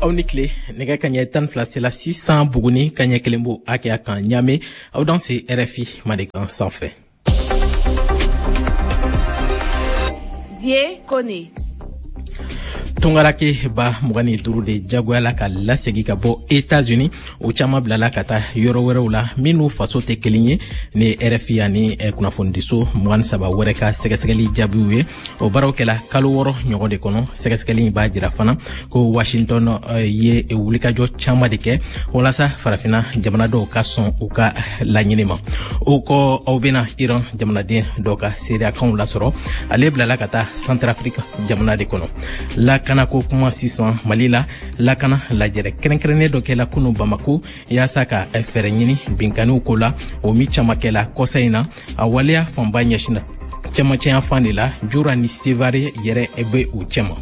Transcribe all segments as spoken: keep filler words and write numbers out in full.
Aw ni tile. Nɛgɛ kaɲɛ tan fila sela sisan Buguni, kaɲɛ kelen b'o hakɛya kan Ɲame. Aw dan se R F I Mandenkan sanfɛ. Zie Kone. Tungarake ba mugan ni duuru de jagoyala ka lasegi ka bɔ Etats-Unis. O caman bilala ka taa yɔrɔ wɛrɛw la minnu faso tɛ kelen ye. Ni R F I ani kunnafonidiso mugan ni saba wɛrɛ ka sɛgɛsɛgɛli jaabiw ye, o baaraw kɛla kalo wɔɔrɔ ɲɔgɔn de kɔnɔ. Sɛgɛsɛgɛli b'a jira fana ko Washington ye wulikajɔ caman de kɛ walasa Farafina jamana dɔw ka sɔn u ka laɲini ma. O kɔ, aw bena Iran jamanaden dɔ ka seereyakanw lasɔrɔ. Ale bilala ka taa Centrafrique jamana de kɔnɔ. Lakana ko kuma sisan. Mali la, lakana lajɛrɛ kɛrɛnkɛrɛnnen dɔ kɛla kunu Bamako yaasa ka fɛɛrɛ ɲini binkaniw ko la, o min caman kɛla kɔsa in na. A waleya fanba ɲɛsinna cɛmancɛya fan de la. Jura ni Sevare yɛrɛ bɛ u cɛma.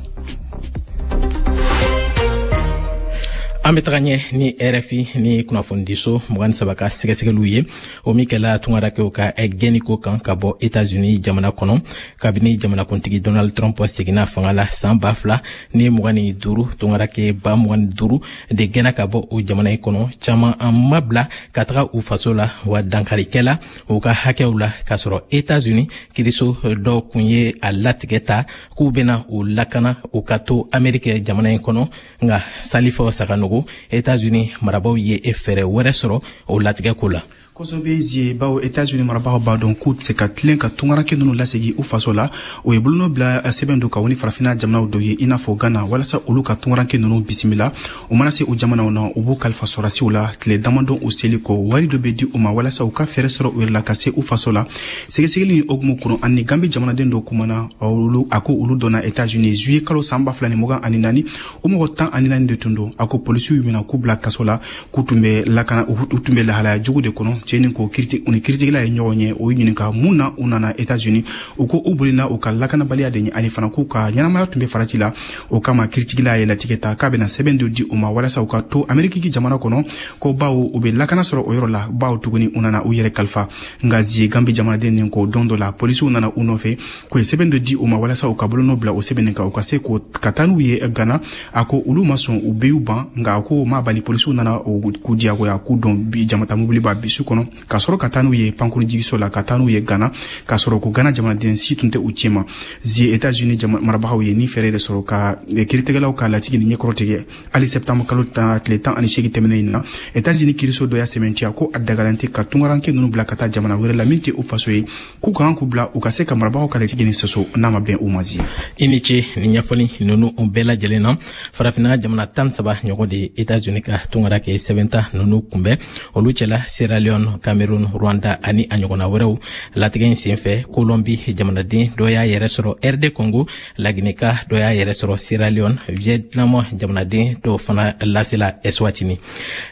An bɛ taga ɲɛ ni R F I ni kunnafonidiso mugan ni saba ka sɛgɛsɛgɛliw ye, o min kɛla tungarakɛw ka gɛnniko kan ka bɔ Etats-Unis jamana kɔnɔ. Kabini jamanakuntigi Donald Trump seginna fanga la san ba fila ni mugan ni duuru, tungarakɛ ba mugan ni duuru de gɛnna ka bɔ o jamana in kɔnɔ. Caman an ma bila ka taga u faso la, wa dankarikɛla u ka hakɛw la, k'a sɔrɔ Etats-Unis kiriso dɔw kun ye a latigɛ ta k'u bena u lakana u ka to Amerikɛ jamana in kɔnɔ. Nka Salifɔ Saganogo, Etats-Unis marabaw ye fɛɛrɛ wɛrɛ sɔrɔ o latigɛ ko la. Kosɛbɛ Zie, bawo Etats-Unis marabagaw b'a dɔn k'u tɛ se ka tilen ka tungaranke ninnu lasegi u faso la. O ye bolonɔ bila sɛbɛn don ka ni Farafina jamanaw dɔ ye, i n'a fɔ Gana, walasa olu ka tungaranke ninnu bisimila. U mana se o jamanaw na, u b'u kalifa sɔrɔdasiw la. Tile damadɔ u seli kɔ, wari dɔ bɛ di u ma walasa u ka fɛɛrɛ sɔrɔ u yɛrɛ la ka se u faso la. Sɛgɛsɛgɛli ni hokumu kɔnɔ, ani Gambi jamanaden dɔ kumana. Olu a ko olu donna Etats-Unis juillet kalo san ba fila ni mugan ani naani. O mɔgɔ tan ani naani de tun don. A ko polisiw y'u minɛ k'u bila kaso la, k'u tun bɛ lakana, u tun bɛ lahalaya jugu de kɔnɔ. Cɛ nin ko kiriti u ni kiritigɛla ye ɲɔgɔn ye, o y'u ɲininka mun na u nana Etats-Unis. U ko u bolila u ka lakanabaliya de ɲɛ, ani fana k'u ka ɲɛnamaya tun bɛ farati la. O kama, kiritigɛla ye latigɛ ta k'a bɛna sɛbɛn dɔ di u ma walasa u ka to Ameriki jamana kɔnɔ, ko bawo u bɛ lakana sɔrɔ o yɔrɔ la, bawo tuguni u nana u yɛrɛ kalifa. Nka Zie, Gambi jamanaden nin ko don dɔ la, polisiw nana u nɔfɛ k'u ye sɛbɛn dɔ di u ma walasa u ka bolonɔ bila o sɛbɛn kan, u ka se k'o ka taa n'u ye Gana. A ko olu ma sɔn, u bɛɛ y'u ban. Nka a ko ma bali, polisiw nana k'u diyagoya k'u dɔn bi jamata mobiliba bisi kɔnɔ ka sɔrɔ ka taa n'u ye pankurun jigiso la, ka taa n'u ye Gana, k'a sɔrɔ ko Gana jamanaden si tun tɛ u cɛma. Zie, Etats-Unis marabagaw ye ni fɛɛrɛ de sɔrɔ ka kiritigɛlaw ka latigɛ ni ɲɛkɔrɔ tigɛ. Hali septembre kalo tan tile tan ani seegin tɛmɛnen in na, Etats-Unis kiriso dɔ y'a sɛmɛntiya ko a dagalen tɛ ka tungaranke ninnu bila ka taa jamana wɛrɛ la min tɛ u faso ye, k'u kan k'u bila u ka se ka marabagaw ka latigɛ ni sɔsɔ n'a ma bɛn u ma. Zie. I ni ce ni ɲɛfɔli ninnu bɛɛ lajɛlen na. Farafinna jamana tan saba ɲɔgɔn de ye Etats-Unis ka tungara kɛ sɛbɛnta ninnu kunbɛn. Olu cɛla Sierra Leone, Cameroun, Rwanda ani a ɲɔgɔnna wɛrɛw. Latigɛ in senfɛ, Colombi jamanaden dɔ y'a yɛrɛ sɔrɔ R D Congo, Lagineka dɔ y'a yɛrɛ sɔrɔ Sierra Leone, Vietnam jamanaden dɔw fana lasela Eswatini.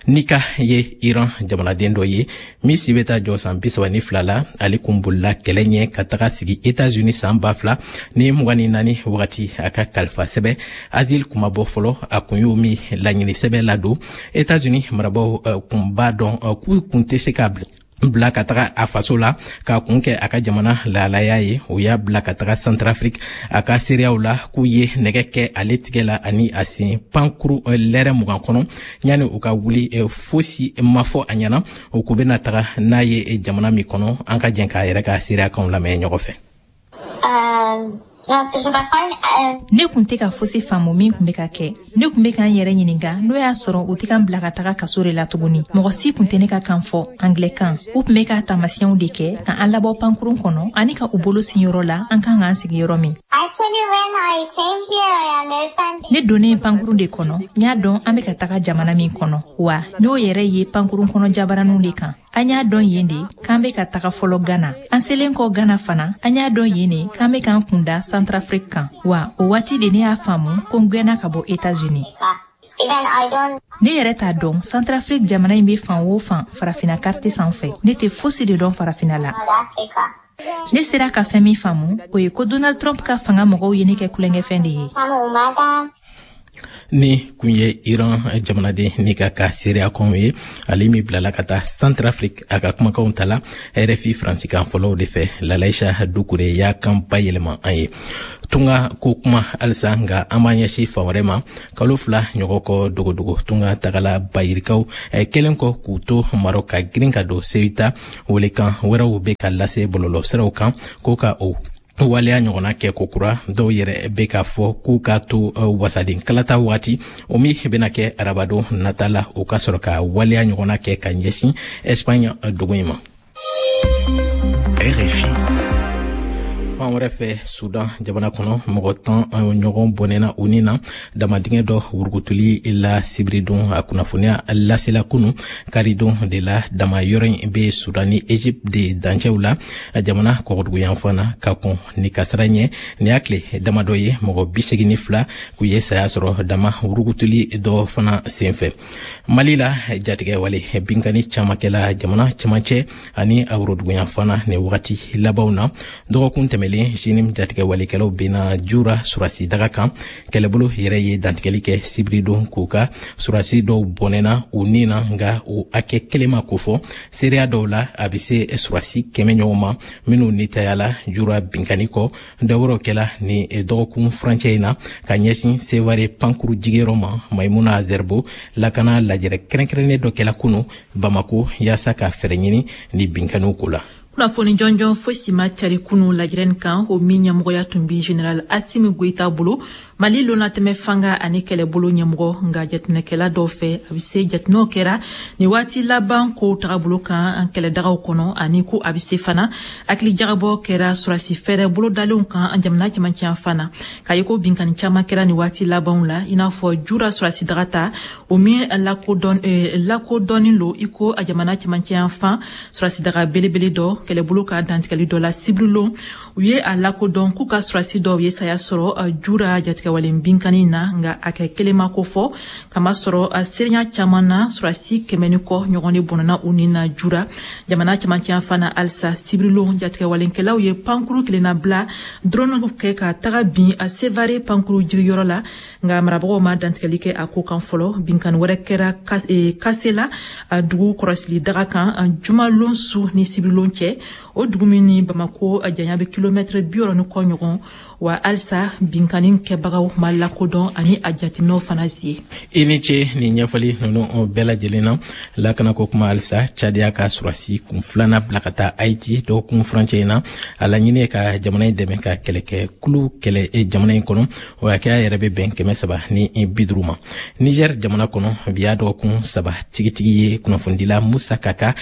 Nika ye Iran jamanaden dɔ ye min si bɛ taa jɔ san bi saba ni fila la. Ale kun bolila kɛlɛ ɲɛ ka taga sigi Etats-Unis san ba fila ni mugan ni naani wagati. A ka kalifa sɛbɛ asile kuma bɔ fɔlɔ, a kun y'o min laɲini sɛbɛ ladon. Etats-Unis marabaw kun b'a dɔn k'u kun tɛ se ka bila ka taga a faso la k'a kun kɛ a ka jamana lahalaya ye. O y'a bila ka taga Centrafrique. A ka seereyaw la, k'u ye nɛgɛ kɛ ale tigɛ la ani a sen pankuru lɛrɛ mugan kɔnɔ yanni u ka wuli. Fosi ma fɔ a ɲɛna o k'u bɛna taga n'a ye jamana min kɔnɔ. An ka jɛn k'a yɛrɛ ka seereyakanw lamɛn ɲɔgɔn fɛ. Ne kun tɛ ka fosi faamu min kun bɛ ka kɛ. Ne kun bɛ ka n yɛrɛ ɲininka n'o y'a sɔrɔ u tɛ ka n bila ka taga kaso de la tuguni. Mɔgɔ si kun tɛ ne ka kan fɔ, angilɛkan. U tun bɛ ka taamasiyɛnw de kɛ ka an labɔ pankurun kɔnɔ ani ka u bolo sin yɔrɔ la an kan k'an sigi yɔrɔ min. Ne donnen pankurun de kɔnɔ, n y'a dɔn an bɛ ka taga jamana min kɔnɔ, wa n y'o yɛrɛ ye pankurun kɔnɔ jabaraniw de kan. An y'a dɔn yen de k'an bɛ ka taga fɔlɔ Gana. An selen kɔ Gana fana, an y'a dɔn yen de k'an bɛ k'an kunda Centrafrique kan. Wa o waati de ne y'a faamu ko n gɛnna ka bɔ Etats-Unis. Ne yɛrɛ t'a dɔn Centrafrique jamana in bɛ fan o fan Farafina carte sanfɛ. Ne tɛ fosi de dɔn Farafina la. Ne sera ka fɛn min faamu, o ye ko Donald Trump ka fanga mɔgɔw ye ne kɛ tulonkɛfɛn de ye. Ni kun ye Iran jamanaden ni ka ka seereya kɔnw ye, ale min bilala ka taa Centrafrique, a ka kumakanw ta la R F I faransikan fɔlɔw de fɛ. Lalaisa Dukure y'a kan bayɛlɛma an ye. Tunga ko kuma halisa, nka an b'an ɲɛsin fan wɛrɛ ma. Kalo fila ɲɔgɔn kɔ, dogodogo tunga tagala bayirikaw kɛlen kɔ k'u to Marɔ ka girin ka don Seyita, welekan wɛrɛw bɛ ka lase bɔlɔlɔ siraw kan ko ka o waleya ɲɔgɔnna kɛ kokura. Dɔw yɛrɛ bɛ k'a fɔ k'u k'a to wasaden kalata waati, o min bɛna kɛ arabadon nata la, o ka sɔrɔ ka waleya ɲɔgɔnna kɛ ka ɲɛsin Espagne dugu in ma. R F I. Fan wɛrɛ fɛ, Sudan jamana kɔnɔ, mɔgɔ tan ɲɔgɔn bɔnɛna u ni na damadingɛ dɔ wurugutuli la sibiridon. A kunnafoniya lasela kunu karidon de la. Dama yɔrɔ in bɛ Sudan ni Egypte de dancɛw la, jamana kɔgɔduguyanfan na. Ka kɔn ni kasara ɲɛ, nin y'a tile damadɔ ye mɔgɔ bi segin ni fila k'u ye saya sɔrɔ dama wurugutuli dɔ fana senfɛ. Mali la, jatigɛ wale binkani caman kɛla jamana cɛmancɛ ani a woroduguyanfan na nin wagati labanw na. Dɔgɔkun tɛmɛlen, JNIM jatigɛ walekɛlaw benna Jura surasi daga kan. Kɛlɛbolo yɛrɛ ye dantigɛli kɛ sibiridon k'u ka surasi dɔw bɔnɛna u ni na, nka o hakɛ kelen ma kofɔ. Seereya dɔw la, a bɛ se surasi kɛmɛ ɲɔgɔn ma minnu nitayala Jura binkani kɔ. Dɔwɛrɛw kɛla ni dɔgɔkun furancɛ in na ka ɲɛsin Seware pankuru jigiyɔrɔ ma. Maimuna Zerbo, lakana lajɛrɛ kɛrɛnkɛrɛnnen dɔ kɛla kunu Bamako yaasa ka fɛɛrɛ ɲini ni binkaniw ko la. Kunnafoni jɔnjɔn fosi ma cari kunu lajɛrɛni kan, o min ɲɛmɔgɔya tun bi général Asimi Goyita bolo, Mali lonatɛmɛ fanga ani kɛlɛbolo ɲɛmɔgɔ. Nka jateminɛkɛla dɔw fɛ, a bɛ se jateminɛw kɛra nin waati laban ko tagabolo kan an kɛlɛdagaw kɔnɔ, ani ko a bɛ se fana hakili jagabɔ kɛra surasi fɛɛrɛ bolodalenw kan an jamana cɛmancɛ fana, k'a ye ko binkani caman kɛra nin waati labanw la, i n'a fɔ Jura surasi daga ta, o min lakodɔn lakodɔnnen lo i ko a jamana cɛmancɛ fan surasi daga belebele dɔ. Kɛlɛbolo ka dantigɛli dɔ la sibirilon, u ye a lakodɔn k'u ka surasi dɔw ye saya sɔrɔ Jura jatigɛwalen binkani na, nka a kɛ kelen ma ko fɔ, kamasɔrɔ seereya caman na, surasi kɛmɛ ni kɔ ɲɔgɔn de bɔnna u ni na Jura jamana cɛmancɛ fana. Halisa sibirilon, jatigɛwalenkɛlaw ye pankuru kelenna bila drone kɛ ka taga bin a Sevare pankuru jigiyɔrɔ la, nka marabagaw ma dantigɛli kɛ a ko kan fɔlɔ. Binkani wɛrɛ kɛra Kasela dugu kɔrɔsili daga kan jumalon su ni sibirilon cɛ, o dugu min ni Bamako janya bɛ kilomɛtɛrɛ bi wɔɔrɔ ni kɔ ɲɔgɔn. Wa halisa binkani kɛbagaw ma lakodɔn ani a jateminɛw fana si. I ni ce nin ɲɛfɔli ninnu bɛɛ lajɛlen na. Lakanako kuma halisa, Cadiya ka surasi kun filanan bila ka taa Haiti dɔgɔkun furancɛ in na. A laɲini ye ka jamana in dɛmɛ ka kɛlɛkɛ kulu kɛlɛ jamana in kɔnɔ. O hakɛya yɛrɛ bɛ bɛn kɛmɛ saba ni bi duuru ma. Niger jamana kɔnɔ, bi y'a dɔgɔkun saba tigitigi ye kunnafonidila Musa Kaka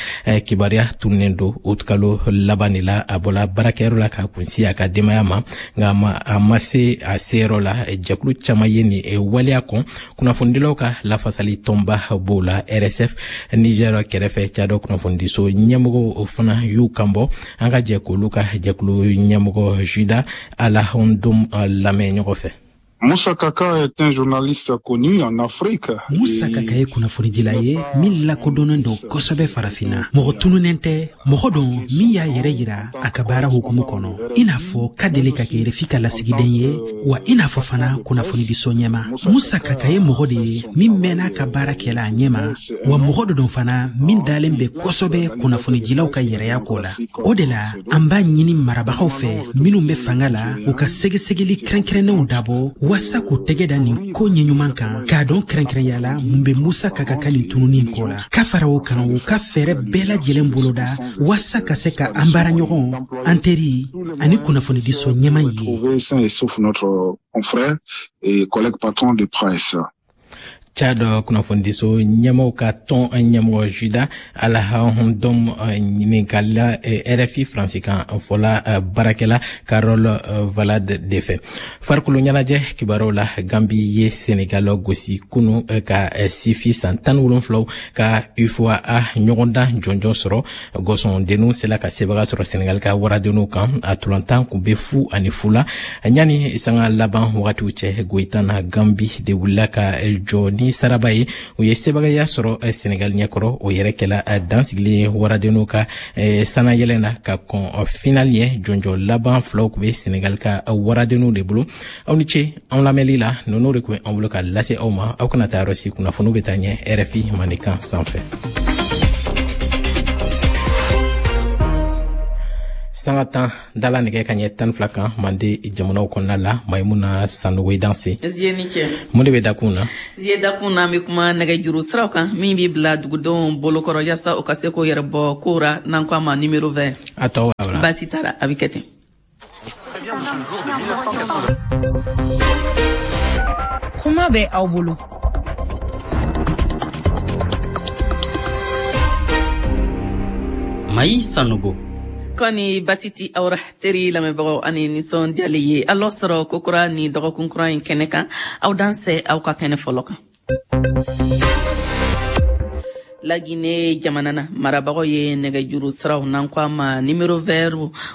kibaruya tununnen don. Utikalo laban de la a bɔla baarakɛyɔrɔ la ka kunsi a ka denbaya ma, nka a ma se a seyɔrɔ la. Jɛkulu caman ye nin waleya kɔn. Kunnafonidilaw ka lafasali tɔnba b'o la, R S F Niger kɛrɛfɛ. Cadɔ kunnafonidiso ɲɛmɔgɔw fana y'u kanbɔ. An ka jɛ k'olu ka jɛkulu ɲɛmɔgɔ Juda Alahɔndom lamɛn ɲɔgɔn fɛ. Moussa Kaka est un journaliste connu en Afrique. Musa Kaka ye kunnafonidila ye min lakodɔnnen don kosɛbɛ Farafinna. Mɔgɔ tununnen tɛ, mɔgɔ don min y'a yɛrɛ yira a ka baara hukumu kɔnɔ, i n'a fɔ ka deli ka kɛ R F I ka lasigiden ye, wa i n'a fɔ fana kunnafonidiso ɲɛma. Musa Kaka ye mɔgɔ de ye min mɛnna ka baara kɛla a ɲɛma, wa mɔgɔ dɔ don fana min dalen bɛ kosɛbɛ kunnafonidilaw ka yɛrɛya ko la. O de la an b'a ɲini marabagaw fɛ minnu bɛ fanga la, u ka sɛgɛsɛgɛli kɛrɛnkɛrɛnnenw dabɔ waasa k'u tɛgɛ da nin ko ɲɛɲuman kan, k'a dɔn kɛrɛnkɛrɛnya la mun bɛ Musa Kaka ka nin tununi in ko la. Ka fara o kan, u ka fɛɛrɛ bɛɛ lajɛlen boloda waasa ka se ka an baaraɲɔgɔn, an teri ani kunnafonidiso ɲɛma ye. Confrère et collègue patron de presse. Chad kunnafonidiso ɲɛmɔgɔw ka tɔn ɲɛmɔgɔ Juda Alahɔndɔm ɲininkalila R F I faransikan fɔla baarakɛla Carole Valade de fɛ. Farikolo ɲɛnajɛ kibaruyaw la, Gambi ye Senegal gosi kunu ka sifi san tan wolonfilaw ka UFOA ɲɔgɔndan jɔnjɔn sɔrɔ. Gɔsɔndenninw sela ka sebaga sɔrɔ Senegal ka waradenninw kan. A tolantan kun bɛ fu ani fu la ɲani sanga laban wagatiw cɛ. Goyitan na, Gambi de wulila ka jɔ ni ni saraba ye. U ye sebagaya sɔrɔ Senegal ɲɛkɔrɔ. O yɛrɛ kɛla dansigilen ye waradenw ka sanayɛlɛ na ka kɔn final ɲɛ. Jɔnjɔ laban filaw tun bɛ Senegal ka waradenw de bolo. Aw ni ce an lamɛnli la. Ninnu de tun bɛ an bolo ka lase aw ma. Aw kana taa yɔrɔ si, kunnafoniw bɛ taa ɲɛ R F I Mandenkan sanfɛ. Sanga tan dala nɛgɛ ka ɲɛ tan fila kan Mande jamanaw kɔnɔna la. Maimuna Sanogo i danse. Zie ni cɛ. Mun de bɛ dakun na? Zie dakun na, an bɛ kuma nɛgɛjuru siraw kan min bɛ bila dugudenw bolokɔrɔ yaasa u ka se k'o yɛrɛ bɔ kow ra, n'an ko a ma numéro vert. A tɔ wala. Baasi t'a la, a bɛ kɛ ten. Kuma bɛ aw bolo. Mayi Sanogo. Kɔni basi ti awra teri lamɛnbagaw ani nisɔndiyali ye alɔ sɔrɔ kokura ni dɔgɔkun kura in kɛnɛ kan. Aw dansɛ aw ka kɛnɛ fɔlɔ kan. Lagine jamana na, marabagaw ye nɛgɛjuru siraw n'an ko a ma numéro vert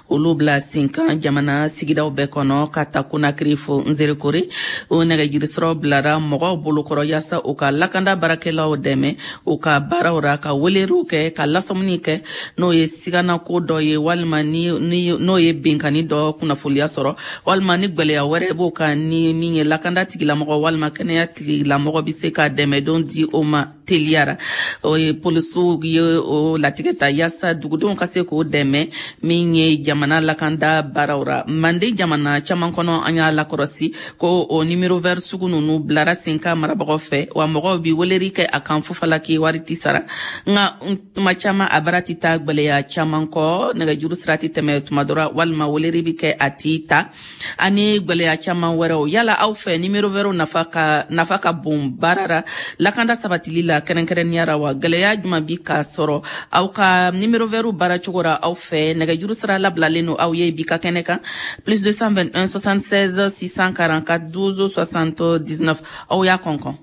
olu bila sen kan jamana sigidaw bɛɛ kɔnɔ ka ta Konakiri fo Nzerekore. O nɛgɛjuru siraw bilara mɔgɔw bolokɔrɔ yaasa u ka lakanda baarakɛlaw dɛmɛ u ka baaraw ra, ka weleriw kɛ, ka lasɔmuni kɛ n'o ye siganako dɔ ye, walima ni n'o ye binkani dɔ kunnafoniya sɔrɔ, walima ni gwɛlɛya wɛrɛ b'o kan ni min ye lakanda tigilamɔgɔ walima kɛnɛya tigilamɔgɔ bɛ se ka dɛmɛdon di o ma teliyara. O ye polisiw ye o latigɛ ta yaasa dugudenw ka se k'o dɛmɛ min ye jamana lakanda baaraw ra. Mande jamana caman kɔnɔ, an y'a lakɔrɔsi ko o numéro vert sugu ninnu bilara sen kan marabagaw fɛ, wa mɔgɔw bi weleri kɛ a kan fufalaki wari ti sara. Nka tuma caman a baara ti taa gwɛlɛya caman kɔ, nɛgɛjuru sira ti tɛmɛ tuma dɔ ra, walima weleri bi kɛ a ti ta, ani gwɛlɛya caman wɛrɛw. Yala aw fɛ numéro vert nafa ka nafa ka bon baara ra lakanda sabatili la kɛrɛnkɛrɛnnenya ra wa? Gɛlɛya jumɛn bi ka sɔrɔ aw ka numéro vert baara cogo ra aw fɛ? Nɛgɛjuru sira labilalen don aw ye bi ka kɛnɛ kan plus deux cent vingt-et-un soixante-seize six cent quarante-quatre douze soixante-dix-neuf. Aw y'a kɔnkɔn.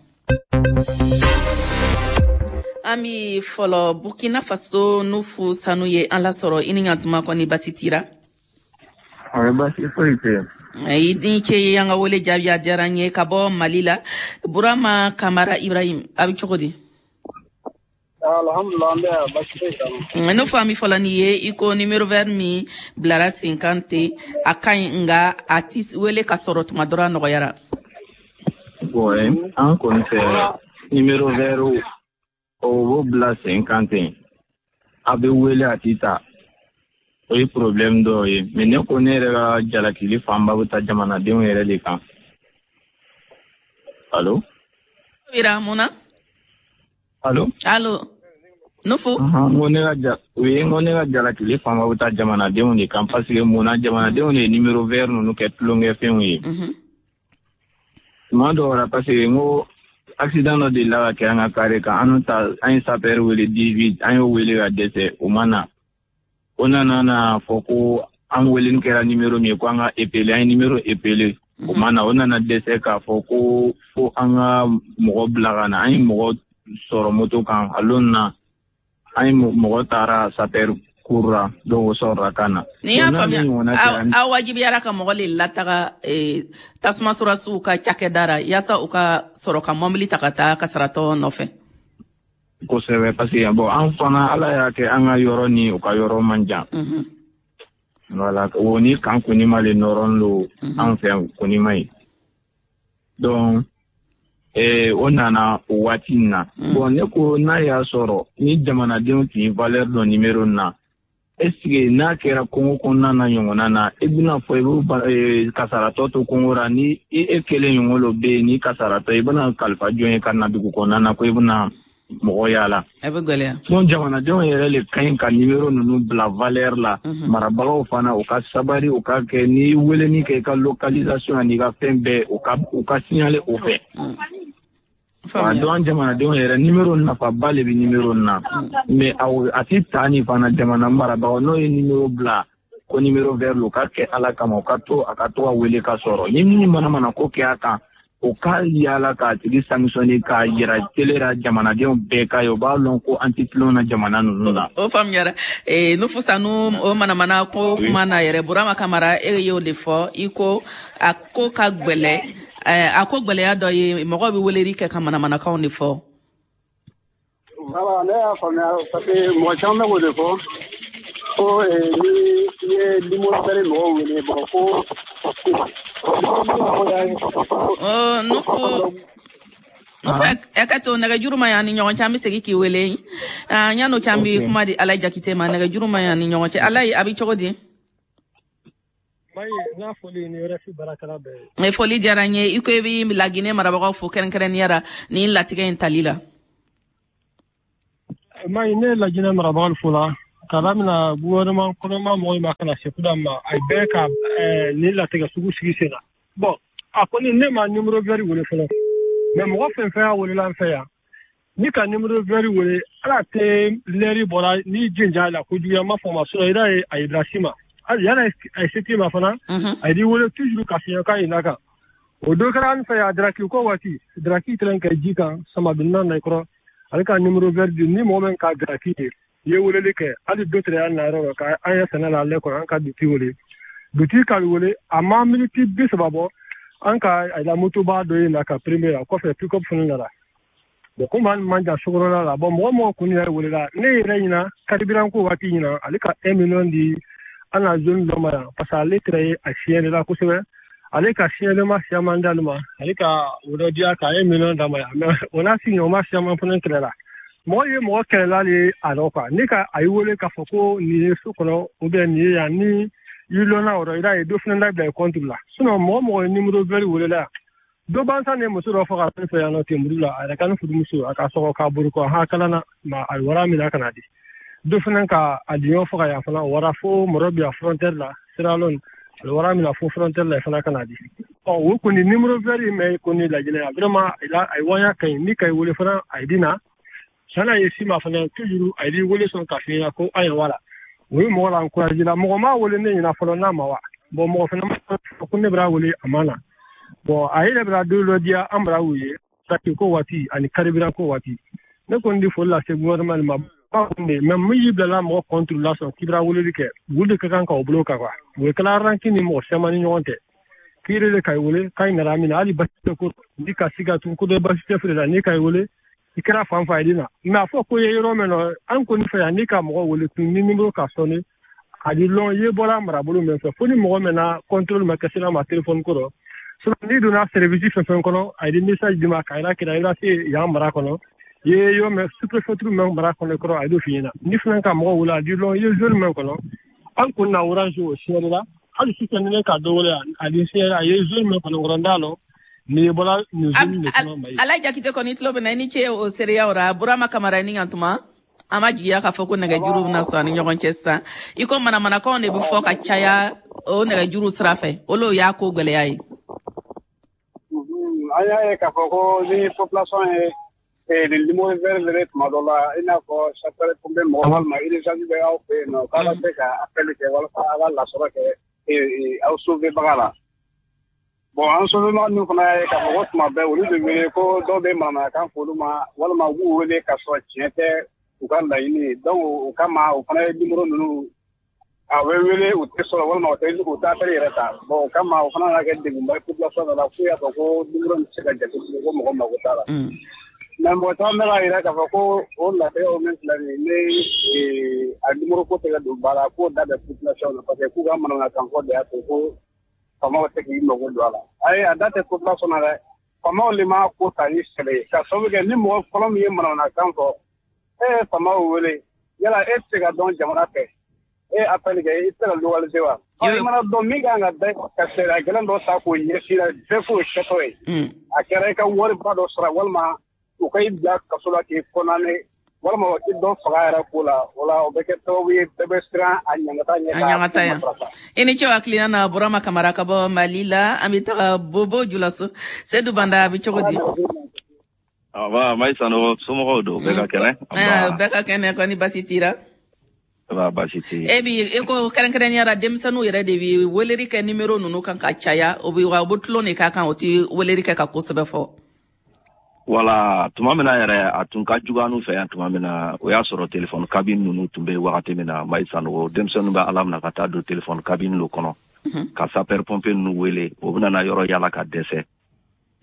An bi fɔlɔ Burkina Faso Nufu Sanu ye an lasɔrɔ. I ni ɲantuma, kɔni basi tira? Basi foyi tɛ yen. I ni ce ye an ka wele jaabi, a diyara n ye. Ka bɔ Mali la, Burama Kamara Ibrahim, a bɛ cogo di? Alhamdulillah, an bɛ yan, basi foyi t'an na. N'o fɔ an bɛ fɔlɔ n'i ye i ko numéro vert min bilara sen kan ten, a ka ɲi, nka a ti wele ka sɔrɔ tuma dɔ la nɔgɔyara. Bon, an kɔni fɛ numéro vert o b'o bila sen kan ten, a bɛ wele a ti ta, o ye problème dɔw ye. Mais ne ko ne yɛrɛ ka jalakili fanba bɛ taa jamanadenw yɛrɛ de kan. Allo? Ira mun na? Allo? Allo? Nufu? N ko ne ka ja oui, n ko ne ka jalakili fanba bɛ taa jamanadenw de kan, parce que mun na jamanadenw de ye numéro vert ninnu kɛ tulonkɛfɛnw ye. Tuma dɔw la, parce que n ko accident dɔ delila ka kɛ an ka carré kan, an ta an ye sapeur wele dix-huit, an y'o wele ka dɛsɛ, o ma na. O nana na fɔ ko an weleni kɛra numéro min ye ko an ka épelé, an ye numéro épelé, o ma na. O nana dɛsɛ k'a fɔ ko fo an ka mɔgɔ bila ka na. An ye mɔgɔ sɔrɔ moto kan a lon na, an ye mɔgɔ taara sapeur kurura, donc o sɔrɔla ka na. N'i y'a faamuya, aw wajibiyara ka mɔgɔ le lataga tasuma surasiw ka cakɛda ra yaasa u ka sɔrɔ ka mɔbili ta ka taa kasaratɔ nɔfɛ. Kosɛbɛ, parce que bon, an fana Ala y'a kɛ an ka yɔrɔ ni u ka yɔrɔ man jan. Voilà, o ni kan Konima le nɔrɔn lo an fɛ yan Konima ye. Donc eh, o nana o waati in na. Bon, ne ko n'a y'a sɔrɔ ni jamanadenw tun ye valeur dɔn numéro na, est ce que n'a kɛra kungo kɔnɔna na ɲɔgɔnna na, i bɛna fɔ i bɛ kasaratɔ to kungo la, ni e kelen ɲɔgɔn lo bɛ yen ni kasaratɔ, i bɛna kalifa jɔn ye ka na dugu kɔnɔna na ko i bɛna mɔgɔ yaala? A bɛ gɛlɛya. Donc jamanadenw yɛrɛ le ka ɲi ka numéro ninnu bila valeur la. Marabagaw fana u ka sabari, u ka kɛ ni weleni kɛ i ka localisation ani i ka fɛn bɛɛ, u ka u ka signaler o fɛ. Donc an jamanadenw yɛrɛ numéro nafaba le bɛ numéro na, mais a ti ta ni fana jamana marabagaw n'o ye numéro bila ko numéro vert lo, ka kɛ Ala kama, u ka to a ka to ka wele ka sɔrɔ ni min mana mana ko kɛ a kan, o ka yaala k'a tigi sanctionner k'a yira télé la jamanadenw bɛɛ ka ye, o b'a lɔn ko an tɛ tulon na jamana ninnu na. O faamuyara. Nufu Sanu, o manamana ko kuma na yɛrɛ, Burama Kamara, e y'o de fɔ, i ko a ko ka gwɛlɛ A ko gwɛlɛya dɔ ye, mɔgɔw bɛ weleli kɛ ka manamanakanw de fɔ. Voilà, ne y'a faamuya parce que mɔgɔ caman bɛ k'o de fɔ ko ni i ye numéro vert mɔgɔw wele, bon ko. Nufu Nufu, ɛ ka to nɛgɛjuru ma yan ni ɲɔgɔn cɛ, an bɛ segin k'i wele. Yan'o cɛ, an bɛ kuma di Alayi Jakite ma. Nɛgɛjuru ma yan ni ɲɔgɔn cɛ. Alayi, a bɛ cogo di? Ye. Foli diyara n ye. I ko i bɛ Laginɛ marabagaw fo kɛrɛnkɛrɛnnenya la nin latigɛ in tali la. Mayi, ne ye Laginɛ marabagaw fo la k'a daminɛ gouvernement kɔnɔma mɔgɔw ma ka na se kuda ma, a bɛɛ ka nin latigɛ sugu sigi sen na. Bon, a kɔni ne ma numéro vert wele fɔlɔ, mais mɔgɔ fɛn fɛn y'a wele an fɛ yan, ni ka numéro vert wele, ala tɛ lɛri bɔra ni jinja la kojuguya ma fɔ ma, sinon i y'a ye a ye bila si ma. Hali yanni a ye se t'i ma fana, a y'i wele toujours ka fiɲɛ k'a ɲin'a kan. O dɔ kɛra an fɛ yan daraki ko waati, daraki kɛlen ka ji kan samadonna na i kɔrɔ, ale ka numéro vert di ni mɔgɔ min ka daraki ye, i ye weleli kɛ, hali dɔ tɛrɛ y'an na yɔrɔ la ka an ye sɛnɛ la ale kɔrɔ, an ka dutigi wele. Dutigi k'ale wele, a ma miniti bi saba bɔ, an ka a la motoba dɔ ye na ka premier la kɔfɛ pick-up fana nana. Bon, komi an man jan sokɔnɔla la, bon, mɔgɔ mɔgɔ kun yɛrɛ welela, ne yɛrɛ ɲina carburant ko waati ɲina, ale ka un million di an na zone dɔ ma yan, parce que ale tɛrɛ ye a siɲɛli la kosɛbɛ. Ale ka siɲɛli ma siyaman d'ale ma, ale ka o dɔ diya ka un million d'a ma yan, mais o n'a sigiɲɔgɔn siyaman fana kɛlɛ la. Mɔgɔ ye mɔgɔ kɛlɛla de a dɔn quoi, ni ka a y'i wele k'a fɔ ko nin ye so kɔnɔ ou bien nin ye yan, ni i lɔnna o rɔ, i b'a ye dɔ fana labila i compte la. Sinon mɔgɔ mɔgɔ ye numéro vert wele la yan, dɔ bansan ye muso dɔ faga fɛn fɛ yan nɔ Tenburu la, a yɛrɛ ka ni furumuso a ka sɔgɔ k'a bori kɔ ha kalan na ma, a ye wara minɛ ka na di. Dɔ fana ka a diɲɛ faga yan fana, o wara fo Mɔrɔbiya frontière la, Sierra Leone, a ye wara minɛ fo frontière la fana ka na di. Ɔ, o kɔni numéro vert in mɛ kɔni Laginɛ yan, vraiment a ye waya ka ɲi, ni ka i wele fana a ye di na. San'a ye si ma fana toujours a y'i wele sɔn k'a f'i ɲɛna ko ayiwa wala. O ye mɔgɔ la encouragé la, mɔgɔ m'a wele ne ɲɛna fɔlɔ n'a ma wa. Bon, mɔgɔ fana ma ko ne b'a wele a ma na. Bon, a yɛrɛ bɛna don dɔ diya an bara u ye taki ko waati ani carburant ko waati. Ne kɔni di foli lase gouvernement ma ba kun de, mais min y'i bilala mɔgɔ contre la sɔn k'i bɛna weleli kɛ, olu de ka kan k'o bolo kan quoi. O ye kɛla ranki ni mɔgɔ caman ni ɲɔgɔn cɛ. K'i yɛrɛ de ka wele k'a nana min na, hali basi tɛ ko ni ka siga tun ko dɔ basi tɛ feere la, n'i ka wele i kɛra fan fan ye na. Mais a fɔ ko ye yɔrɔ min na, an kɔni fɛ yan, n'i ka mɔgɔ wele tun ni numéro ka sɔnni a di lɔn i ye bɔra marabolo min fɛ, fo ni mɔgɔ min na contrôle ma kɛ sira ma téléphone ko rɔ. Sinon n'i donna service fɛn fɛn kɔnɔ, a ye message d'i ma k'a yira k'i la se yan mara kɔnɔ, i ye yɔrɔ min sous-préfecture min mara kɔnɔ kɔrɔ, a ye f'i ɲɛna. Ni fana ka mɔgɔ wele a di lɔn i ye zone min kɔnɔ, an kɔni na orange o signalé la. Hali sisan ni ne ka dɔ wele a di signalé a ye zone min kɔnɔ kɔrɔ, n t'a lɔn. Ni bɔra nin zone de kɔnɔ Mali. Alayi Jakite kɔni tulo bɛ na, i ni ce o seereya o ra. Burama Kamara ni yan tuma an ma jigiya k'a fɔ ko nɛgɛjuru bɛna sɔn ani ɲɔgɔn cɛ sisan. I ko manamanakanw de bɛ fɔ ka caya o nɛgɛjuru sira fɛ, olu y'a ko gɛlɛya ye. An y'a ye k'a fɔ ko ni population ye nin numéro vert wele tuma dɔ la, i n'a fɔ sapeur pompier mɔgɔ walima urgence bɛ aw fɛ yen nɔ, k'a bɛ se ka appel kɛ walasa a ka lasɔrɔ kɛ aw sauver baga la. Bon, an sauver baga ninnu fana y'a ye k'a fɔ ko tuma bɛɛ olu bɛ wele ko dɔw bɛ manamanakan fɔ olu ma, walima u b'u wele k'a sɔrɔ tiɲɛ tɛ u ka laɲini ye. Donc o kama o fana ye numéro ninnu a bɛ wele u tɛ sɔrɔ, walima u tɛ u tɛ appel yɛrɛ ta. Bon, o kama o fana nana kɛ degunba ye population la, f'u y'a fɔ ko numéro nin tɛ se ka jate bilen, ko mɔgɔ mako t'a la. Mais mɔgɔ caman bɛ k'a jira k'a fɔ ko o latigɛw min filɛ nin ye, ni a numéro ko tɛ ka don ba la, k'o da bɛ population na, parce que k'u ka manamanakan fɔ de y'a to ko faamaw tɛ k'i mago don a la. Ayi, a da tɛ population na dɛ, faamaw de m'a ko ta ni sɛbɛ ye, ka sababu kɛ ni mɔgɔ fɔlɔ min ye manamanakan fɔ, e ye faamaw wele, yala e tɛ se ka dɔn jamana fɛ, e ye appel kɛ, i tɛ se ka localiser wa? I mana dɔn min kan ka da ka sariya gɛlɛn dɔ ta k'o ɲɛsin la, bɛɛ k'o kɛtɔ ye. A kɛra i ka wariba dɔ sara, walima u ka i bila kaso la k'i condamné, walima u k'i dɔ faga yɛrɛ ko la, o la o bɛ kɛ sababu ye bɛɛ bɛ siran a ɲangata ɲɛ. A ɲangata yan. I ni ce hakilina na Burama Kamara ka bɔ Mali la. An bɛ taga Bobo Julaso. Seydou Banda, a bɛ cogo di? Aba, Mayi Sanogo, somɔgɔw don, bɛɛ ka kɛnɛ? Bɛɛ ka kɛnɛ, kɔni basi t'i la? Ba basi tɛ. E bi e ko kɛrɛnkɛrɛnnenya la denmisɛnninw yɛrɛ de bi weleli kɛ numéro ninnu kan ka caya, o bɛ wa u bɛ tulon de k'a kan, o ti weleli kɛ ka kosɛbɛ fɔ. Wala tuma min na yɛrɛ a tun ka jugu an fɛ yan tuma min na, o y'a sɔrɔ téléphone cabine ninnu tun bɛ wagati min na, Mayi Sanogo, denmisɛnninw bɛ ala minɛ ka taa don téléphone cabine lo kɔnɔ ka sapeur pompier ninnu wele, o bɛna na yɔrɔ yala ka dɛsɛ.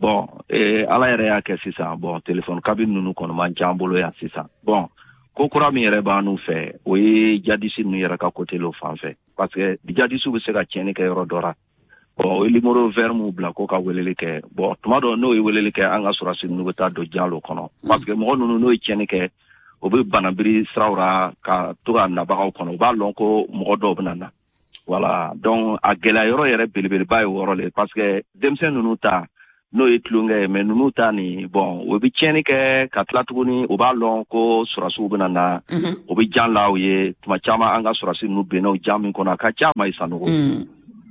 Bon, eh, Ala yɛrɛ y'a kɛ sisan, bon, téléphone cabine ninnu kɔni man ca an bolo yan sisan. Bon, ko kura min yɛrɛ b'an fɛ, o ye jadisi ninnu yɛrɛ ka côté lo fan fɛ, parce que jadisiw bɛ se ka tiɲɛni kɛ yɔrɔ dɔ la. Bon, o ye numéro vert mun bila ko ka weleli kɛ. Bon, tuma dɔ n'o ye weleli kɛ, an ka sɔrɔdasi ninnu bɛ taa don jan lo kɔnɔ, parce que mɔgɔ ninnu n'o ye tiɲɛni kɛ, o bɛ banabiri siraw ra ka to ka nabagaw kɔnɔ, u b'a lɔn ko mɔgɔ dɔw bɛ na na. Voilà, donc a gɛlɛya yɔrɔ yɛrɛ belebeleba ye o yɔrɔ le, parce que denmisɛn ninnu ta n'o ye tulonkɛ ye, mais ninnu ta nin, bon, o bɛ tiɲɛni kɛ ka tila tuguni, u b'a lɔn ko sɔrɔdasiw bɛ na na, o bɛ jan la u ye. Tuma caman an ka sɔrɔdasi ninnu benna o jan min kɔnɔ, a ka ca ma i Sanogo.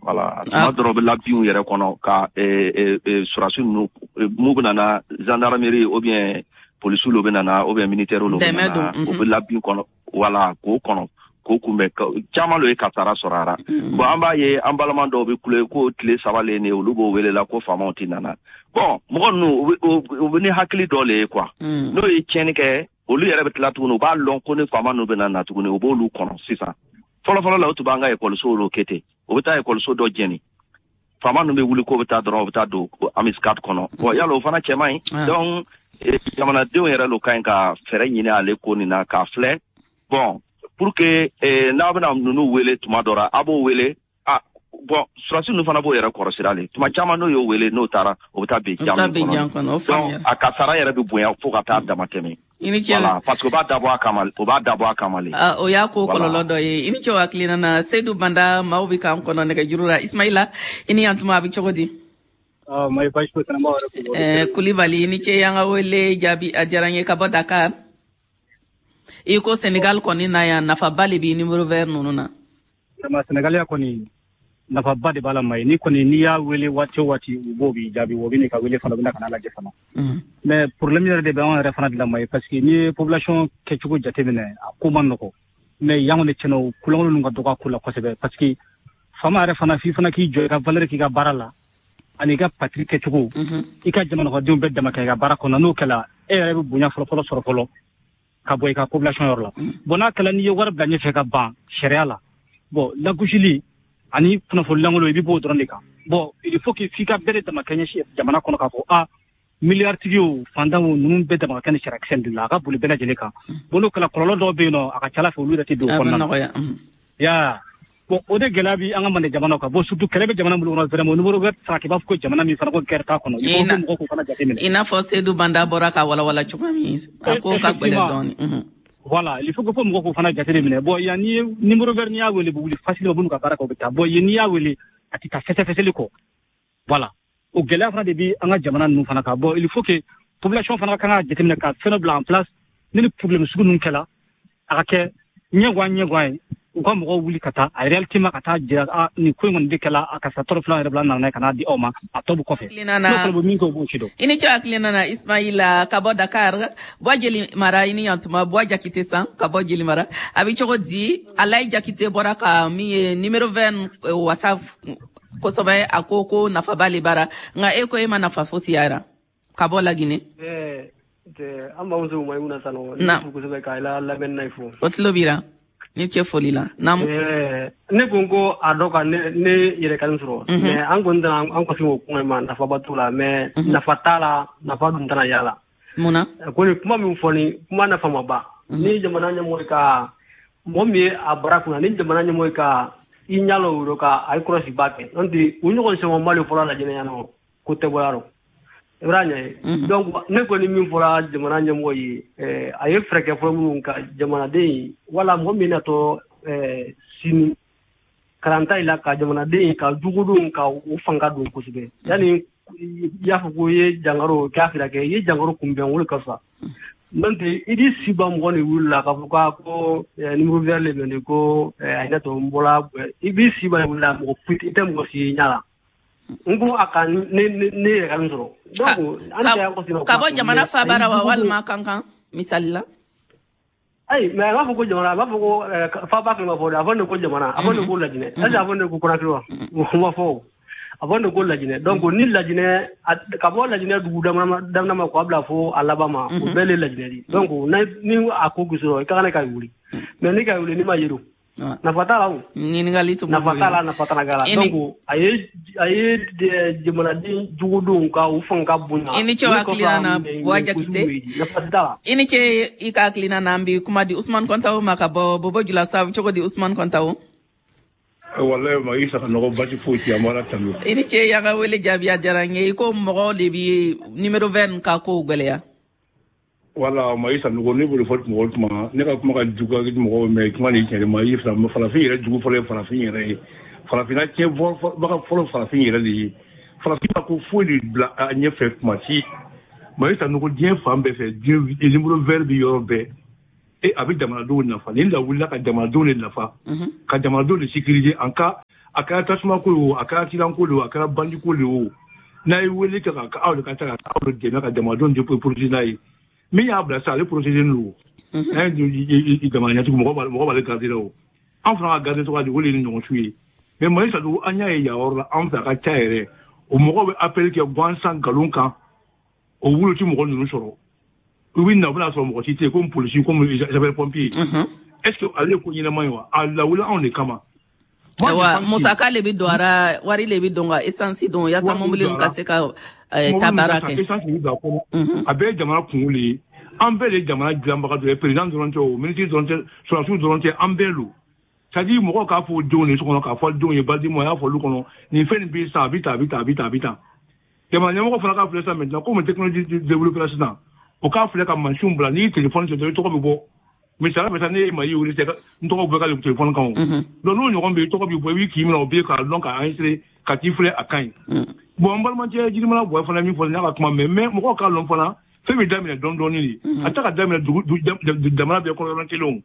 Voilà, tuma dɔrɔn bɛ labinw yɛrɛ kɔnɔ ka sɔrɔdasi ninnu mun bɛ na na, gendarmerie ou bien polisiw lo bɛ na na, ou bien militaires lo bɛ na na, o bɛ labin kɔnɔ, voilà, k'o kɔnɔ k'o kunbɛn. Caman lo ye kasara sɔrɔ a la. Bon, an b'a ye an balima dɔw bɛ kule ko tile saba le nin, olu b'o wele la ko faamaw tɛ nana. Bon, mɔgɔ ninnu u bɛ ni hakili dɔ le ye quoi. N'o ye tiɲɛni kɛ, olu yɛrɛ bɛ tila tuguni, u b'a lɔn ko ni faama ninnu bɛ na na tuguni, u b'olu kɔnɔ sisan. Fɔlɔfɔlɔ la, o tun b'an ka ekɔlisow lo kɛ ten, o bɛ taa ekɔliso dɔ jɛni, faama ninnu bɛ wuli k'o bɛ taa dɔrɔn, o bɛ taa don embuscade kɔnɔ. Bon, yala o fana cɛ man ɲi. Donc jamanadenw yɛrɛ lo ka ɲi ka fɛɛrɛ ɲini ale ko nin na k'a filɛ. Bon, pour que eh, n'a bɛna ninnu wele tuma dɔ la, a b'o wele. Ah bon, sɔrɔdasi ninnu fana b'o yɛrɛ kɔrɔsira le. Tuma caman n'o y'o wele, n'o taara, o bɛ taa bin jan min kɔnɔ, donc a kasara yɛrɛ bɛ bonya fo ka taa dama tɛmɛ. I ni ce. Voilà, parce que o b'a dabɔ a kama, o b'a dabɔ a kama le. O y'a ko kɔlɔlɔ dɔ ye. I ni ce o hakilina na, Seydou Banda. Maaw bɛ k'an kɔnɔ nɛgɛjuru la. Ismaila, i ni yan tuma, a bɛ cogo di? Kulibali, i ni ce y'an ka wele jaabi, a diyara n ye. Ka bɔ Dakar, i ko Senegal kɔni na yan, nafaba le bi numéro vert ninnu na. Senegal ya kɔni nafaba de b'a la. Ma ni kɔni n'i y'a wele waati o waati, u b'o b'i jaabi, o bɛ n'i ka wele fana, u bɛna ka n'a lajɛ fana. Mais problème yɛrɛ de bɛ anw yɛrɛ fana de la ma ye, parce que n'i ye population kɛcogo jateminɛ, a ko man nɔgɔ. Mais yan kɔni tiɲɛna, o kulankolon ninnu ka dɔgɔ a ko la kosɛbɛ, parce que faama yɛrɛ fana, f'i fana k'i jɔ i ka valeur k'i ka baara la, ani i ka patrie kɛcogo, i ka jamanakɔnɔdenw bɛɛ dama kɛ i ka baara kɔnɔ. N'o kɛla, e yɛrɛ bɛ bonya fɔlɔ-fɔlɔ sɔrɔ fɔlɔ ka bɔ i ka population yɔrɔ la. Bon, n'a kɛla n'i ye wari bila ɲɛfɛ ka ban sariya la, bon, lagosili ani kunnafoni lankolon, i bɛ b'o dɔrɔn de kan. Bon, il faut que f'i ka bɛɛ de dama kɛɲɛ jamana kɔnɔ, k'a fɔ a miliyari o fantan o ninnu bɛɛ dama ka kɛ ni sariyakisɛ de la, a ka boli bɛɛ lajɛlen kan. Bon, n'o kɛla, kɔlɔlɔ dɔw bɛ yen nɔ, a ka ca ala fɛ olu yɛrɛ tɛ don o kɔnɔna na. Ya bon, o de gɛlɛya bi an ka Mande jamanaw kan. Bon, surtout kɛlɛ bɛ jamana minnu kɔnɔ, vraiment numéro vert sara k'i b'a fɔ ko jamana min fana ko guerre t'a kɔnɔ, il faut que mɔgɔw k'o fana jateminɛ. I n'a fɔ Seydou Banda bɔra ka walawala cogo min, a ko ka gɛlɛn dɔɔnin. Voilà, il faut que fo mɔgɔw k'o fana jateminɛ. Bon, yan n'i ye numéro vert, n'i y'a wele, bɛ wuli facilement, u b'u ka baara kɛ, u bɛ taa. Bon, yen n'i y'a wele, a tɛ taa fɛsɛfɛsɛli kɔ. Voilà, o gɛlɛya fana de bi an ka jamana ninnu fana kan. Bon, il faut que population fana kan ka jateminɛ ka fɛn dɔ bila en place ni ni problème sugu ninnu kɛla, a ka kɛ ɲɛguwan ɲɛguwan ye, u ka mɔgɔw wuli ka taa a réalité ma, ka taa jira a nin ko in kɔni de kɛla, a karisa tɔɔrɔ filan yɛrɛ bila nana n'a ye ka n'a di aw ma, a tɔ bɛ kɔfɛ. N'o fana bɛ min kɛ, o b'o si dɔn. I ni ce hakilina na, Ismaila ka bɔ Dakar. Bɔ Jeli Mara, i ni yantuma. Bɔ Jakite san ka bɔ Jeli Mara, a bɛ cogo di? Alayi Jakite bɔra ka min ye numéro vert wasa kosɛbɛ, a ko ko nafaba le bara, nka e ko e ma nafa fosi yara ka bɔ Laginɛ. An bamuso Mayimuna Sanogo, ne kosɛbɛ k'a la lamɛnni na i fo. O tulo b'i la. Ni ce foli la. Naamu. Ne ko ko a dɔ ka ne ne yɛrɛ ka sɔrɔ. Mais an kɔni tɛna an kɔsi o kuma ma, nafaba t'o la, mais nafa t'a la, nafa dun tɛna y'a la. Mun na? Ko ni kuma min fɔ, ni kuma nafa ma ban. Ni jamana ɲɛmɔgɔ ka mɔgɔ min ye a baara kunna, ni jamana ɲɛmɔgɔ ka i ɲɛ lɔ o ka a ye kɔlɔsi ba kɛ. N'o tɛ u ɲɔgɔn sɛgɛnba de fɔra Lajinɛ yan nɔ, ko tɛ bɔ yɔrɔ. I b'a ɲɛ ye. Donc ne kɔni min fɔra jamana ɲɛmɔgɔ ye, a ye fɛɛrɛ kɛ fɔlɔ minnu ka jamanaden wala mɔgɔ min natɔ sini karanta i la ka jamanaden ka jugudenw ka u fanga don kosɛbɛ. Yanni i y'a fɔ ko i ye jankaro k'a fira kɛ, i ye jankaro kunbɛn, o de ka fisa. N'o tɛ i di si ban mɔgɔ ni wuli la k'a fɔ ko numéro vert le bɛ nin ko a yɛrɛ tɔ n bɔra, i b'i si ban wuli la, mɔgɔ foyi i tɛ mɔgɔ si ɲɛ la. N ko a ka ne ne yɛrɛ ka min sɔrɔ. Donc an tɛ an kɔsi. Ka bɔ jamana fabara wa walima kankan misali la. Ayi, mais a b'a fɔ ko jamana, a b'a fɔ ko faba kan ma fɔ dɛ, a fɔ ne ko jamana, a fɔ ne ko Lajinɛ. Est-ce que a fɔ ne ko Conakry wa? O ma fɔ o. A fɔ ne ko Lajinɛ. Donc ni Lajinɛ ka bɔ Lajinɛ dugu daminɛ ma k'a bila fo a laban ma, o bɛɛ le Lajinɛ de. Donc ni a ko sɔrɔ i ka kan ka wuli. Mais ni ka wuli ni ma yero. Nafa t'a la o. Ɲininkali tun nafa t'a la, nafa t'a la. Donc a ye a ye jamanaden jugudenw ka u fanga bonya. I ni ce hakilina na, Buwa Jakite. Nafa t'a la. I ni ce i ka hakilina na. An bi kuma di Usman Kɔntawo ma ka bɔ Bobo Julasaw. Cogo di, Usman Kɔntawo? Wallahi, ma isa ka nɔgɔ, basi foyi tɛ, an b'Ala tanu. I ni ce, y'an ka wele jaabi, a diyara n ye. I ko mɔgɔw de bi numéro vert ka kow gwɛlɛya. Wala, ma isa nɔgɔ, ne bolo fɔ mɔgɔ tuma ne ka kuma ka jugu mɔgɔw, mais kuma ni tiɲɛ ma i fila. Farafin yɛrɛ jugu fɔlɔ ye farafin yɛrɛ ye. Farafinna tiɲɛ baga fɔlɔ, farafin yɛrɛ de ye. Farafin ma ko foyi de bila a ɲɛfɛ kuma si. Ma isa nɔgɔ, diɲɛ fan bɛɛ fɛ, diɲɛ numéro vert bi yɔrɔ bɛɛ. E a bɛ jamanadenw nafa. Ni lawulila ka jamanadenw de nafa, ka jamanadenw de sécuriser. En cas a kɛra tasuma ko ye o, a kɛra accident ko de o, a kɛra bandit ko de o, n'a ye wele kɛ ka aw de ka taa ka aw de dɛmɛ ka jamanadenw de protéger n'a ye. Min y'a bila sisan, ale protéger don. N'a ye jamana ɲɛtigi, mɔgɔ mɔgɔ b'ale garder la o. An fana ka garder cogoya di? O de ye ni ɲɔgɔn su ye. Mais Mali Sadugu, an y'a ye yan yɔrɔ la, an fɛ a ka ca yɛrɛ, o mɔgɔw bɛ appel kɛ gansan nkalon kan. O wolo ti mɔgɔ ninnu sɔrɔ. U bɛ na, u bɛna sɔrɔ mɔgɔ si tɛ yen, komi polisi, komi sapeur pompier. Est ce que ale ye ko ɲɛnama ye wa? A lawuli anw de kama. Ayiwa, musaka le bɛ don a ra, wari le bɛ don ka essence don yaasa mobili ka se ka taa baara kɛ. Essence bɛ don a kɔnɔ. A bɛɛ ye jamana kungo de ye. An bɛɛ de ye jamana dilanbaga dɔ ye. Président dɔrɔn tɛ o, ministre dɔrɔn tɛ, sɔrɔdasiw dɔrɔn tɛ, an bɛɛ don. C'est à dire mɔgɔw k'a fɔ denw de so kɔnɔ, k'a fɔ denw ye balimaw a y'a fɔ olu kɔnɔ, nin fɛn nin bɛ sisan, a bɛ tan, a bɛ tan, a bɛ tan, a bɛ tan. Jamana ɲɛmɔgɔ fana k'a filɛ sisan maintenant, komi technologie développé la sisan, o k'a filɛ ka mansinw bila. N'i ye téléphone sɔrɔ, i tɔgɔ bɛ bɔ. Misaliya bɛ taa, ne ye Mayi wele sisan, n tɔgɔ bɔ ka téléphone kan o. Donc n'o ɲɔgɔn bɛ yen, i tɔgɔ bɛ bɔ, i b'i k'i minɛ o bɛ yen k'a dɔn k'a enregistré ka t'i filɛ, a ka ɲi. Bon, n balimakɛ Jirimana Buwa fana min fɔ, n y'a ka kuma mɛn, mais mɔgɔw k'a lɔn fana, fɛn bɛ daminɛ dɔɔni dɔɔni de. A tɛ ka daminɛ dugu jamana bɛɛ kɔnɔ yɔrɔ kelen o.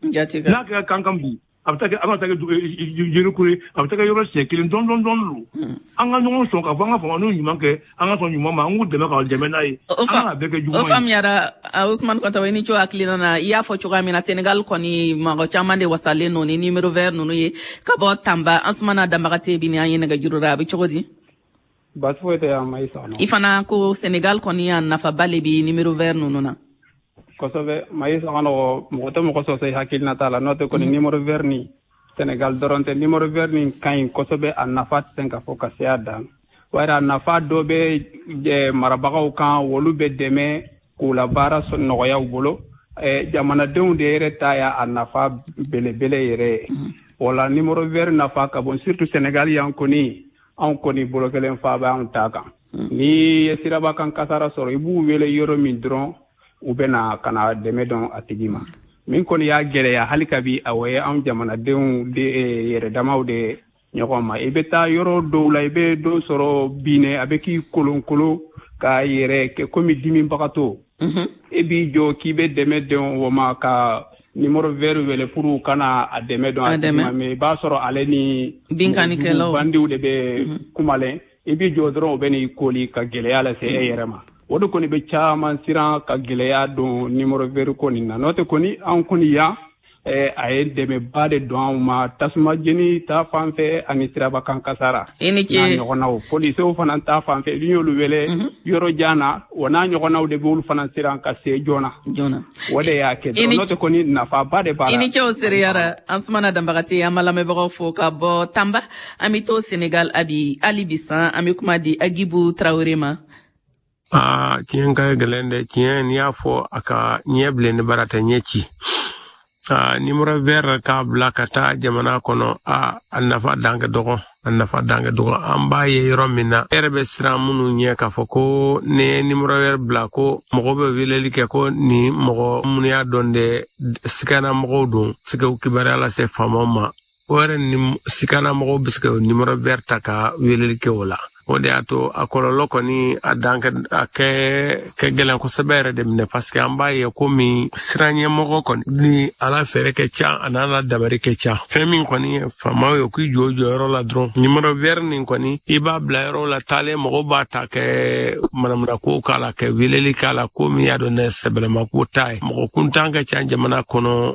N'a kɛra kankan bi, a bɛ taa kɛ, a bɛ taa kɛ Yerikure, a bɛ taa kɛ yɔrɔ siɲɛ kelen, dɔɔni dɔɔni dɔɔni don. An ka ɲɔgɔn sɔn k'a fɔ an ka fanga n'u ɲuman kɛ, an ka sɔn ɲuman ma, an k'u dɛmɛ k'aw dɛmɛ n'a ye. An kana bɛɛ kɛ juguman ye. O faamuyara, Ousmane Kɔntawo, i ni ce hakilina na. I y'a fɔ cogoya min na, Senegal kɔni mɔgɔ caman de wasalen don ni numéro vert ninnu ye. Ka bɔ Tanba, Ansumana Danbagate bi ni an ye nɛgɛjuru la, a bɛ cogo di? Baasi foyi tɛ yan, Mayisa. I fana ko Senegal kɔni a nafaba le bi numéro vert ninnu na. Kosɛbɛ, Mayisa ka nɔgɔ, mɔgɔ tɛ mɔgɔ sɔsɔ i hakilina t'a la. N'o tɛ kɔni, numéro vert ni Senegal dɔrɔn tɛ, numéro vert nin ka ɲi kosɛbɛ. A nafa tɛ se ka fɔ ka se a dan. Wari a nafa dɔ bɛ marabagaw kan, olu bɛ dɛmɛ k'u la baara nɔgɔya u bolo. Jamanadenw de yɛrɛ ta y'a nafa belebele yɛrɛ ye. O la numéro vert nafa ka bon, surtout Senegal yan kɔni. Anw kɔni bolo kelen fa bɛ anw ta kan. Ni ye siraba kan kasara sɔrɔ, i b'u wele yɔrɔ min dɔrɔn, u bɛ na ka na dɛmɛ dɔn a tigi ma. Min kɔni y'a gɛlɛya hali kabi, a ye anw jamanadenw de yɛrɛ damaw de ɲɔgɔn ma. I bɛ taa yɔrɔ dɔw la, i bɛ dɔ sɔrɔ binɛ, a bɛ k'i kolonkolon k'a yɛrɛ kɛ komi dimibagatɔ. E b'i jɔ k'i bɛ dɛmɛ dɔn o ma ka numéro vert wele pour u kana a dɛmɛ dɔn a tigi ma, mais i b'a sɔrɔ ale ni binkannikɛlaw bandiw de bɛ kumalen. I b'i jɔ dɔrɔn, u bɛ n'i koli ka gɛlɛya lase e yɛrɛ ma. O de kɔni bɛ caman siran ka gɛlɛya don numéro vert ko nin na. N'o tɛ kɔni, anw kɔni yan, a ye dɛmɛba de don anw ma, tasuma jeni ta fan fɛ ani siraba kan kasara I ni ce. N'a ɲɔgɔnnaw, polisiw fana ta fan fɛ, n'i y'olu wele yɔrɔ jan na, o n'a ɲɔgɔnnaw de b'olu fana siran ka se joona. Joona. O de y'a kɛ dɔrɔn. N'o tɛ kɔni, nafaba de b'a la. I ni ce, o seereyara. Ansumana Danbagate, an b'a lamɛnbagaw fo ka bɔ Tanba. An bɛ to Senegal abi hali bi san, an bɛ kuma di Agibu Tarawele ma. Aa, tiɲɛ ka gɛlɛn dɛ. Tiɲɛ, n'i y'a fɔ a ka ɲɛ bilen, ne bara tɛ ɲɛ ci. Aa, numéro vert k'a bila ka taa jamana kɔnɔ, a a nafa dan ka dɔgɔ, a nafa dan ka dɔgɔ. An b'a ye yɔrɔ min na, e yɛrɛ bɛ siran minnu ɲɛ k'a fɔ ko ne ye numéro vert bila, ko mɔgɔ bɛ weleli kɛ, ko nin mɔgɔ minnu y'a dɔn dɛ, sikana mɔgɔw don, se k'u kibaruya lase faamaw ma. O yɛrɛ ni sikana mɔgɔw bɛ se ka numéro vert ta ka weleli kɛ o la. O de y'a to a kɔlɔlɔ kɔni a dan a kɛ kɛ gɛlɛn kosɛbɛ yɛrɛ de minɛ, parce que an b'a ye komi siran ɲɛmɔgɔ kɔni ni ala fɛɛrɛ kɛ ca, a n'a la dabari kɛ ca. Fɛn min kɔni ye faamaw ye, k'i jɔ jɔyɔrɔ la dɔrɔn, numéro vert nin kɔni, i b'a bila yɔrɔ la taalen, mɔgɔw b'a ta kɛ manamanako k'a la, kɛ weleli k'a la, ko min y'a dɔn ne sɛbɛlɛma ko t'a ye. Mɔgɔ kuntan ka ca jamana kɔnɔ.